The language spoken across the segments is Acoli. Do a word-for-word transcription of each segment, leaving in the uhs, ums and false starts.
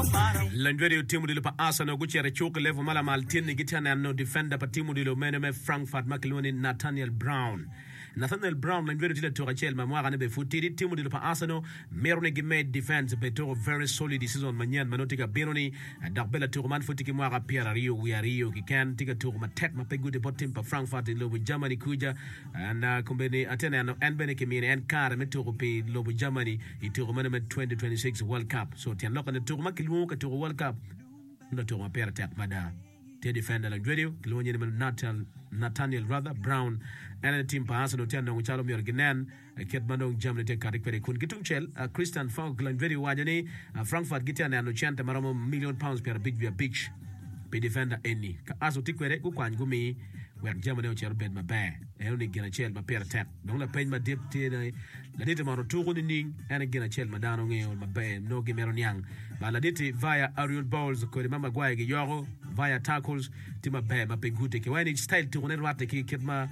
Lanywedo tim odilo pa Arsenal gucito i cuk i level ma lamal tye-ni gitye ka neno defender pa tim odilo mene me Frankfurt ma kilwongo ni Nathaniel Brown. Nathaniel Brown lanywedo tye latuk acel ma mwakane bene pud tidi. Tim odilo pa Arsenal mito ni gimed defense bed tuko very solid i season manyen ma nongo tye ka bino-ni dok bene latuko man pud tye ki mwaka pyeraryo wiye aryo keken tye ka tuko matek ma pe gude bot tim pa Frankfurt i lobo Germany kuca. And kombeddi atye ka neno en bene kimine en kare me tuko pi lobo Germany i tuko meno me twenty twenty six World Cup. So tyen lokke ni tuko ma kilwongo ka tuko World Cup nongo tuko ma pire tek mada. Tye defender lajwedi kilwongo nyinge ni Nathaniel rather Brown. En aye tim pa Arsenal tye ka nongo calo myero ginen kit ma dong jamine tye ka kati kwede. Kun ki tungcel Christian Falk lajwedi owaco ni Frankfurt gitye ka neno cente ma romo million pounds pyerabic wiye abic pi defender eni. Ka Arsenal tye kwede gukwany gumi wek jamine ocit obed maber. Eno ni gin acel ma pire tek. Dong lapeny madit tye ni, Ladit-ti mono tuko nining? En aye gin acel ma dano ngeyo maber nongo gimito niang. Ba ladit-ti via aerial balls kodi ma Maguire giyoko via tackles tye maber ma pe gute. Kiwaco ni style tukone rwatte ki kit ma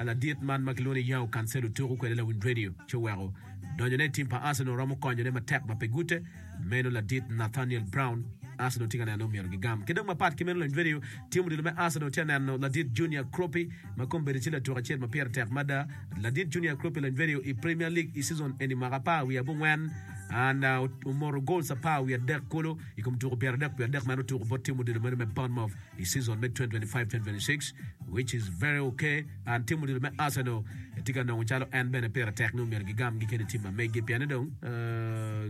ladit man ma kilwongo ni João Cancelo tuko kwede lawiny radio ci oweko donyone i tim pa Arsenal romo konyone matek ma pe gute. Meno ladit Nathaniel Brown Arsenal tye ka neno ni omyero gigam. Ki dong mapat ki meno lawiny radio tim odilo me Arsenal tye ka neno ladit Junior Kroppi ma kombeddi tye latuk acel ma pire tek mada. Ladit Junior Kroppi lawiny radio i Premier League i season eni mwaka apar wiye abongwen and omoto goals apar wiye adek kulu i kom tuko pyeradek wiye adek ma en otuko bot tim odilo meno me Bournemouth i season me twenty twenty-five twenty twenty-six which is very okay and tim odilo me Arsenal tye ka nongo calo en bene pire tek ni omyero gigam gi kede tim ma megi pien ni dong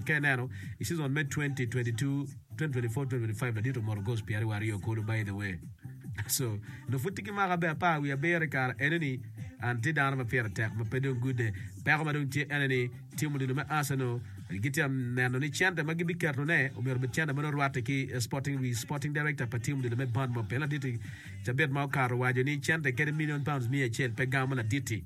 ka ineno i season me twenty twenty-two twenty twenty-four twenty twenty-five ladit omoto goals pyeraryo aryo kulu by the way so nongo pud tye ki mwaka bene apar wiye abiro i kare enoni and tye dano ma pire tek ma pe dong gude peko ma dong tye ene ni tim odilo me Arsenal gitye ka neno ni cente ma gibiketone omyero obed cente ma nongo rwatte ki sporting wi sporting director pa tim odilo me Bournemouth pien ladit-ti cabit ma okato owaco ni cente kadi million pounds miya acel pe gamo ladit-ti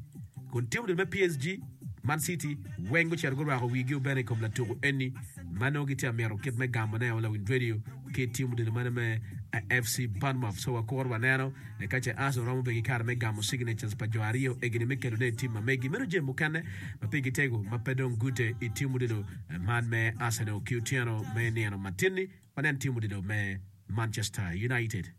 kun tim odilo me P S G, Man City weng gucito gurwako wigi obene i kom latuku eni ma nongo gitye ka mito kit me gamone o lawiny radio ki tim odilo meno me F C Bournemouth. So wakuro waneno ka ce Arsenal romo bedo ki kare me gamo signatures pa jo aryo egini me kelone i tim ma megi. Meno jami mukene ma pigi tego ma pe dong gute i tim odilo man me Arsenal ki otyeno me nino matin-ni. Wanen tim odilo me Manchester United.